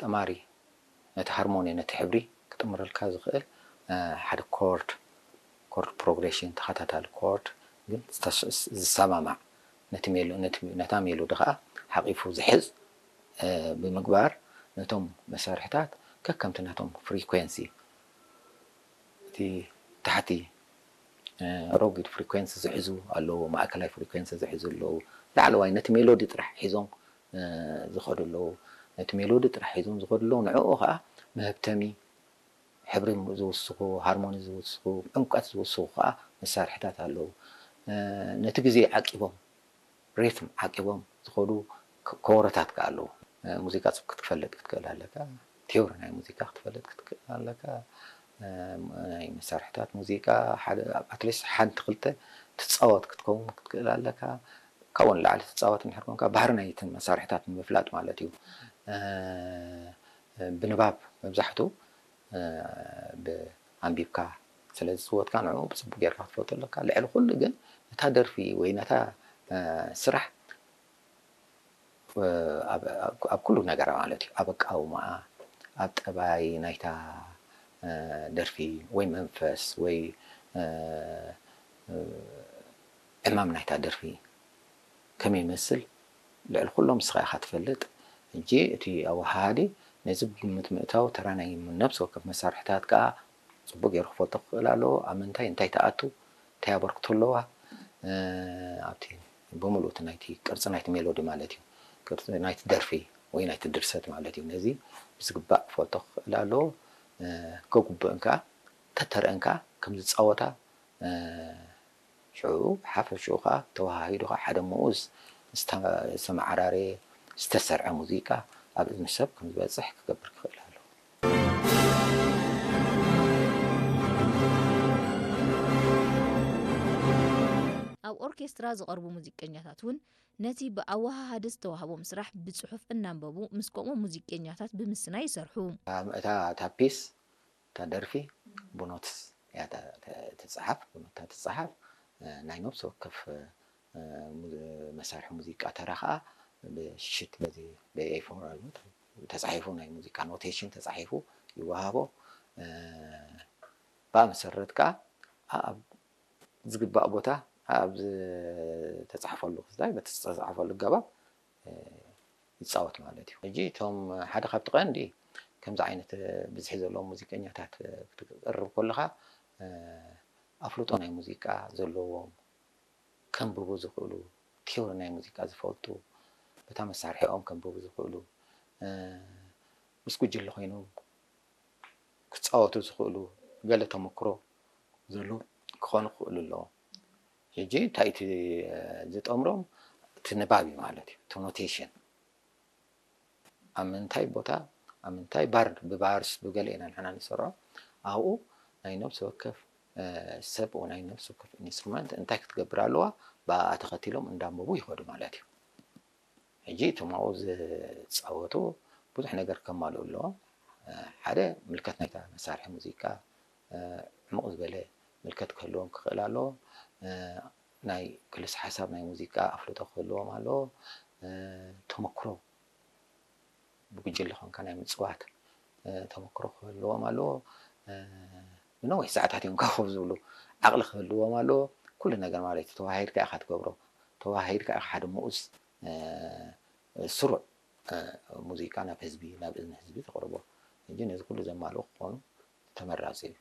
ጠማሪ ነቲ ሃርሞኒ ነቲ ሕብሪ ክጥምረልካ ዝኽእል ሓደ ኮርድ ኮርድ ፕሮግሬሽን ተኸታታሊ ኮርድ ግን ዝሰማማዕ ነቲ ሜሎ ነቲ ነታ ሜሎዲ ከዓ ሓቂፉ ዝሕዝ ብምግባር ነቶም መሳርሕታት ከከምቲ ናቶም ፍሪኩዌንሲ እቲ ታሕቲ ረጉድ ፍሪኩዌንሲ ዝሕዙ ኣለዉ፣ ማእከላይ ፍሪኩዌንሲ ዝሕዙ ኣለዉ፣ ላዕለዋይ ነቲ ሜሎዲ ጥራሕ ሒዞም ዝኸዱ ኣለዉ። ነቲ ሜሎዲ ጥራሕ ሒዞም ዝኸዱ ኣለዉ፣ ንዕኡ ኸዓ መህብተሚ ሕብሪ ዝውስኹ፣ ሃርሞኒ ዝውስኹ፣ ዕምቀት ዝውስኹ ኸዓ መሳርሕታት ኣለዉ። ነቲ ግዜ ዓቂቦም ሪትም ዓቂቦም ዝኸዱ ከበሮታት ከኣ ኣለዉ። ሙዚቃ ክትፈልጥ ክትክእል ኣለካ፣ ቲዮሪ ናይ ሙዚቃ ክትፈልጥ ክትክእል ኣለካ፣ ናይ መሳርሕታት ሙዚቃ ሓደ ኣትሊስት ሓንቲ ክልተ ትፃወት ክትከውን ክትክእል ኣለካ። ካብኡ ንላዕሊ ትፃወት እንድሕር ኮንካ ባህሪ ናይትን መሳርሕታት ንምፍላጥ ማለት እዩ። ብንባብ መብዛሕቱ ኣንቢብካ ስለ ዝፅወትካ ንዕኡ ብፅቡቅ ጌርካ ክትፈልጦ ኣለካ። ልዕሊ ኩሉ ግን እታ ደርፊ ወይ ነታ ስራሕ ኣብ ኩሉ ነገራ ማለት እዩ ኣብ ኣቃውማኣ ኣብ ጠባይ ናይታ ደርፊ ወይ መንፈስ ወይ ዕማም ናይታ ደርፊ ከመይ ይመስል ልዕሊ ኩሎም ንስኻ ኢኻ ትፈልጥ። ሕጂ እቲ ኣወሃሃዲ ነዚ ብግምት ምእታው ተራ ናይ ነብሲ ወከፍ መሳርሕታት ከኣ ጽቡቕ ገይሩ ክፈልጦ ክኽእል ኣለዎ። ኣብ ምንታይ እንታይ ትኣቱ እንታይ ኣበርክቶ ኣለዋ ኣብቲ ብምሉእ እቲ ናይቲ ቅርጺ ናይቲ ሜሎዲ ማለት እዩ ቅርጺ ናይቲ ደርፊ ወይ ናይቲ ድርሰት ማለት እዩ። ነዚ ብዝግባእ ክፈልጦ ክኽእል ኣለዎ። ከጉብእን ከኣ ተተርእን ከኣ ከም ዝጻወታ ሽዑ ብሓፈሽኡ ከኣ ተወሃሂዱ ከኣ ሓደ ምኡዝ ዝተመዓራረየ ዝተሰርዐ ሙዚቃ ኣብ እዝኒ ሰብ ከም ዝበጽሕ ክገብር ክኽእል ኣለዎ። ኣብ ኦርኬስትራ ዝቐርቡ ሙዚቀኛታት እውን ነቲ ብኣወሃሃዲ ዝተዋህቦም ስራሕ ብጽሑፍ እናንበቡ ምስ ከምኡ ሙዚቀኛታት ብምስናይ ይሰርሑ። እታ ፒስ እታ ደርፊ ብኖትስ እያ ትፅሓፍ፣ ብኖታ ትፅሓፍ። ናይ ነብሲ ወከፍ መሳርሒ ሙዚቃ ተራ ከዓ ብሽት በዚ ብኤፎር ተፃሒፉ ናይ ሙዚቃ ኖቴሽን ተፃሒፉ ይወሃቦ። ብኣ መሰረት ከዓ ኣብ ዝግባእ ቦታ ኣብ ዝተፃሕፈሉ ክስታይ በቲ ዝተፃሕፈሉ ኣገባብ ይፃወት ማለት እዩ። ሕጂ እቶም ሓደ ካብቲ ቀንዲ ከምዚ ዓይነት ብዝሒ ዘለዎም ሙዚቀኛታት ክትቅርብ ከለኻ ኣፍልጦ ናይ ሙዚቃ ዘለዎም ከንብቡ ዝኽእሉ ቲዮሪ ናይ ሙዚቃ ዝፈልጡ በታ መሳርሒኦም ከንብቡ ዝኽእሉ ምስ ጉጅለ ኮይኖም ክፃወቱ ዝኽእሉ ገለ ተመክሮ ዘሎ ክኾኑ ክኽእሉ ኣለዎም። ሕጂ እንታይ እቲ ዝጠምሮም እቲ ንባብ እዩ ማለት እዩ እቲ ኖቴሽን ኣብ ምንታይ ቦታ ኣብ ምንታይ ባር ብባርስ ብገለ ኢና ንሕና ንሰርዖ ኣብኡ ናይ ነብሲ ወከፍ ሰብ ናይ ነብሲ ወከፍ ኢንስትሩመንት እንታይ ክትገብር ኣለዋ ብኣ ተኸቲሎም እንዳንበቡ ይኸዱ ማለት እዩ። ሕጂ እቶም ኣብኡ ዝፃወቱ ብዙሕ ነገር ከማልኡ ኣለዎም። ሓደ ምልከት ናይታ መሳርሒ ሙዚቃ ዕሙቕ ዝበለ ምልከት ክህልዎም ክኽእል ኣለዎ። ናይ ክልስ ሓሳብ ናይ ሙዚቃ ኣፍልጦ ክህልዎም ኣለዎ። ተመክሮ ብጉጅለ ኮንካ ናይ ምፅዋት ተመክሮ ክህልዎም ኣለዎ። ንነዊሕ ሰዓታት እዮም ኮፍ ዝብሉ ዓቕሊ ክህልዎም ኣለዎ። ኩሉ ነገር ማለት እዩ ተዋሂድካ ኢኻ ትገብሮ። ተዋሂድካ ኢኻ ሓደ ምኡዝ ስሩዕ ሙዚቃ ናብ ህዝቢ ናብ እዝኒ ህዝቢ ተቕርቦ። ሕጂ ነዚ ኩሉ ዘማልኡ ክኾኑ ተመራፂ እዩ።